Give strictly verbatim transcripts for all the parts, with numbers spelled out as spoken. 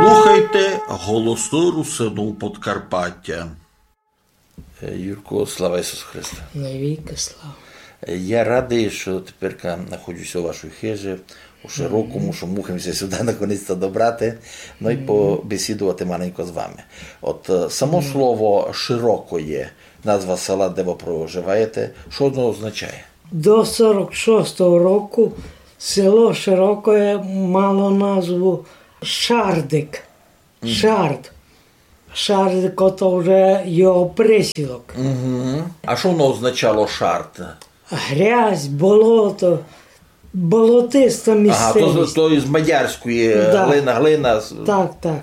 Слухайте Голосы Русинув Подкарпатя. Е, Юрко, слава Ісусу Христу! Навікы слава! Е, я радый, што теперка находжу ся у вашій хыжі, у Широкому, што мухам ся сюды наконець-то добрати, но й побесідувати маленько з вами. От, е, само слово Широкоє, назва села, де вы проживаєте, што воно означає? До сорок шостого року село Широкоє мало назву Шардик. Шард. Шардик, ото вже його присілок. А што воно означало шард? Грязь, болото, болотиста місцевість. Ага, то з, то із мадярської, е, глина, глина. Так, так.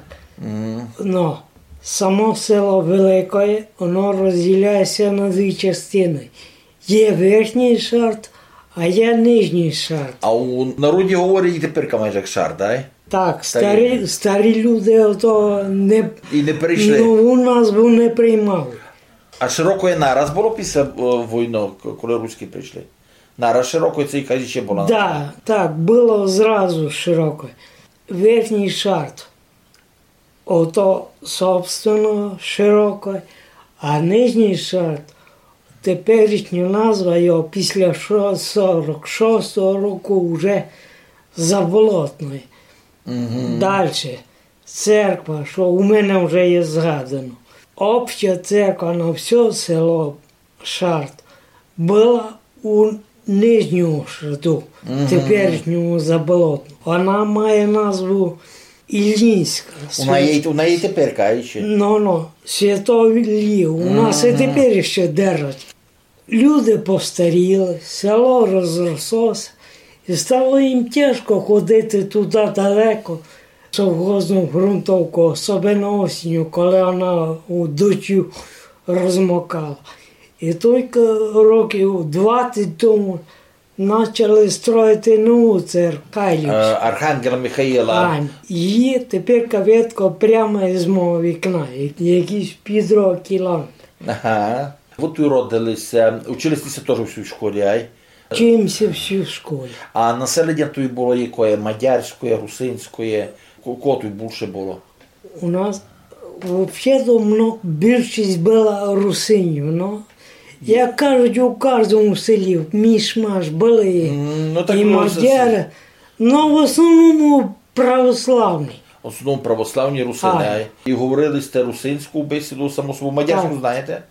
Но, само село великоє, воно розділяє ся на дві частины. Є верхній шард, а є нижній шард. А у народі говорять і теперка майже як шард, ай? Так, старі, старі люди ото не, і не перейшли. Нову назву не приймали. А Широкоє нараз было після, е, войны, к-, коли руські прийшли? Нараз Широкоє, ци якась іщи была назва? Да, так, было зразу Широкоє. Верхній шард. Ото, собственно, Широкоє, а нижній шард, теперішня назва його після шо-, сорок шостого року вже Заболотноє. Дальше. Церква, што у мене вже є згадано. Обща церква на всьо село Шард была у Нижньому Шарду, теперішньому Заболотну. Вона має назву Іллінська. Вона є, вона є теперка, а іщи? Ну, ну, Святого Іллі. У нас і тепер іщи держать. Люди постаріли, село розрослося, і стало їм тяжко ходити туды далеко, в совхозну ґрунтовку, особенно осінню, коли вона у дождю розмокала. І тілько років двадцять тому начали строїти нову церкву, Кайлівську. Е, Архангела Михаїла. А, її тепер видко прямо із мого вікна, як-, якісь півтора кілометра. Ага. Вы туй родили ся, учили сте ся тоже у сій школі, ай? Учив ся в сій школі. А населеня туй было якоє? Мадярськоє, русинськоє? Ко-, кого туй булше было? У нас вообще-то мно-, більшість была русинів, но. Як кажуть, у каждому селі міш-маш были і мадяри, но в основному православні. В основному православні русины, ай. І говорили сте русинську бесіду, само собою, мадярську знаєте?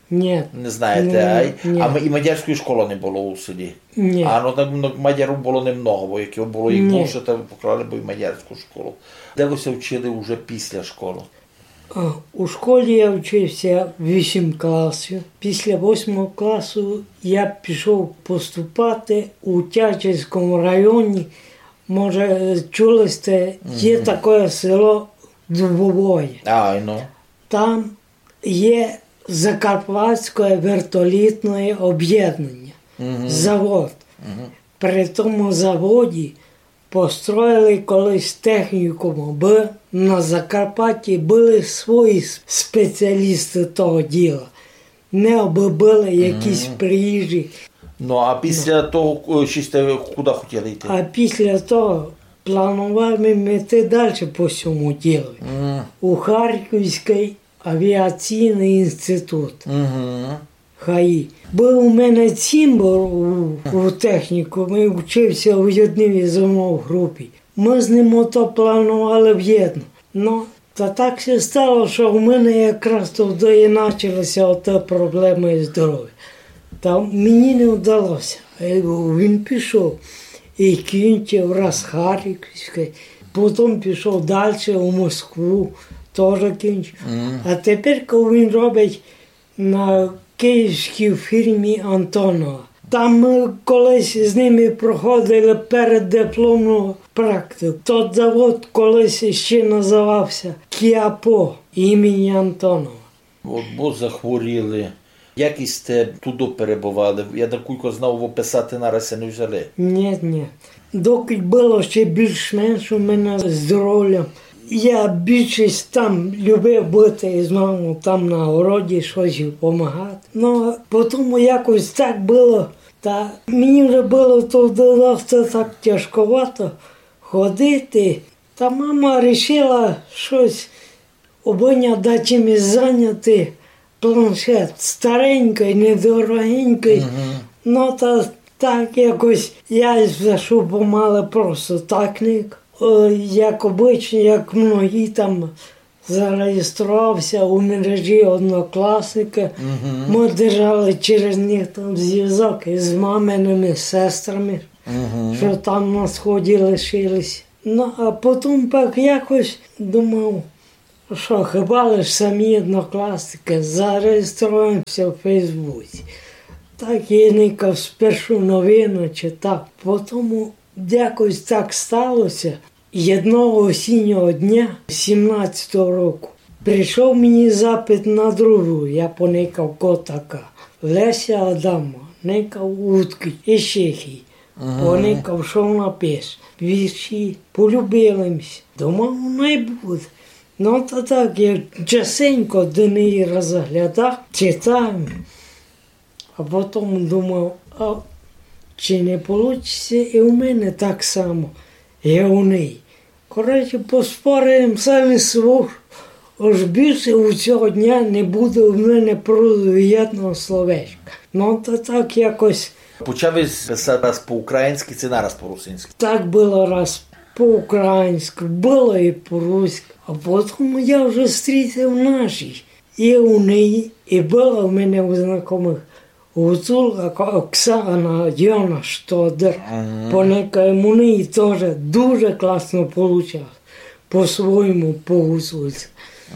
Ні. Не знаєте, ай? Ні. А м-, і мадярської школы не было у селі? Ні. А, ну, так, ну, мадярів было немного, бо як было їх булше, то поклали бы і мадярську школу. Де вы ся вчили уже після школы? А, у школі я вчив ся вісім класів. Після восьмого класу я пішов поступати у Тячівському районі. Може, чули сте, є таке село Дубовоє. А, ну. Там є Закарпатське вертолітне об'єднання, завод. При тому заводі построїли колись технікум, абы на Закарпатті были свої с-, спеціалісты того діла. Не абы были якісь приїжджі. Ну, а після того, е, што сте куды хотіли йти? А після того планував им іти дальше по сьому ділу. У Харківський авіаційный інститут. ХАІ. Быв у мене цімбор у, у технікумі, вчив ся в єдній зо мнов групі. Мы з ним ото планували вєдно. Но, та так ся стало, што в мене якраз тогды і начали ся оті проблемы із здоровям. Та мені не вдало ся. Е, він пішов і кінчив раз Харківське, потім пішов дальше у Москву, тоже кінчив. А тепер, коли він робить на київській фірмі Антонова. Там мы колись з ними проходили переддипломну практику. Тот завод колись іщи называв ся Кіапо імені Антонова. От бо захворіли. Як сте туды перебывали? Я, накулько знав, описати нараз ся не взяли. Ні, ні. Докы было ще більш-менш у мене здоровя, я більшість там любив быти з мамов, там на городі штось помагати. Но, потому якось так было. Та мені вже было то досить так тяжковато ходити. Та мама рішила штось обы ня дачим заняти, планшет старенькый, недорогенькый. Мгм. Но та так якось я ся, што помале просто так ник. Е, як обычно, як многі там, зареєстрував ся у мережі Однокласники. Мгм. Мы держали через них там звязок із мамиными сестрами, мгм, што там на сході лишились. Но, а потом пак якось думав, што хіба лиш самі Однокласники, зареєструєм ся в Фейсбуці. Так і никав спершу новины читав. Потом якось так стало ся, єдного осіннього дня сімнадцятого року прийшов мені запит на другу, я поникав, ко така. Леся Адамова, никав, удкы, із Чехії. Ага. Поникав, што вона пише. Вірші, полюбили ми ся. Думав, най буде. Но та так, я частенько до неї розглядав, читав. А потом думав, а чи не получить ся і у мене так само, як у неї. Коротше, поспорив им сам із собов, ож більше у сього дня не буде у мене просто єдного словечка. Но та так якось. Почав єсь писати раз по-українськы, ци нараз по-русинськы? Так было раз по-українськы, было і по-руськы. А потом я вже стрітив наші. І у неї, і была у мене у знакомых гуцулка Оксана, Йона Штодер. Мгм. Поникав им, у неї тоже дуже класно получалось. По-свойому, по-гуцульськы.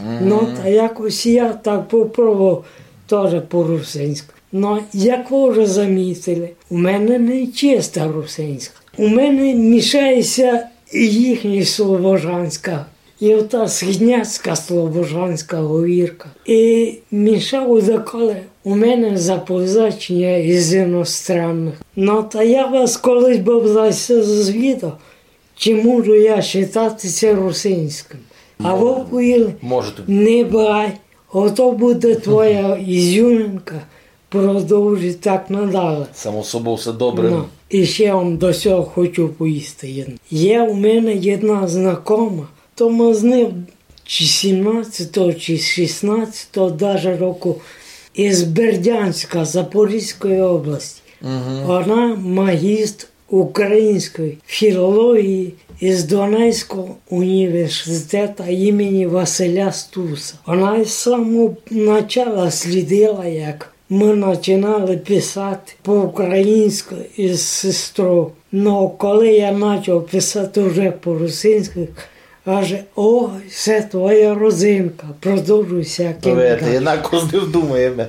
Мгм. Но та якось я так попробовав тоже по-русинськы. Но, як вы вже замітили, у мене не чиста русинська. У мене мішає ся і їхня слобожанська, і ота східняцька слобожанська говірка. І мішав деколи у мене заповзаченя із іностранных. Но та я вас колись бы за се зазвідав, чи можу я считати ся русинськым. А вы повіли: «Не бай, ото буде твоя ізюминка, продовжуй так надале». Само собов, всьо добре. Но, і ще вам до сього хочу повісти єдно. Є у мене єдна знакома, то мы з ним чи сімнадцятого, чи шістнадцятого даже року, із Бердянська, Запорізької області. Мгм. Она магістр української філології із Донецького університета імені Василя Стуса. Она із самого начала слідила, як мы начинали писати по-українськы із сестров. Но коли я начав писати вже по-русинськы, каже: «Ой, се твоя родзинка, продовжуй ся, ким далі». Видите, однако з ним думаєме.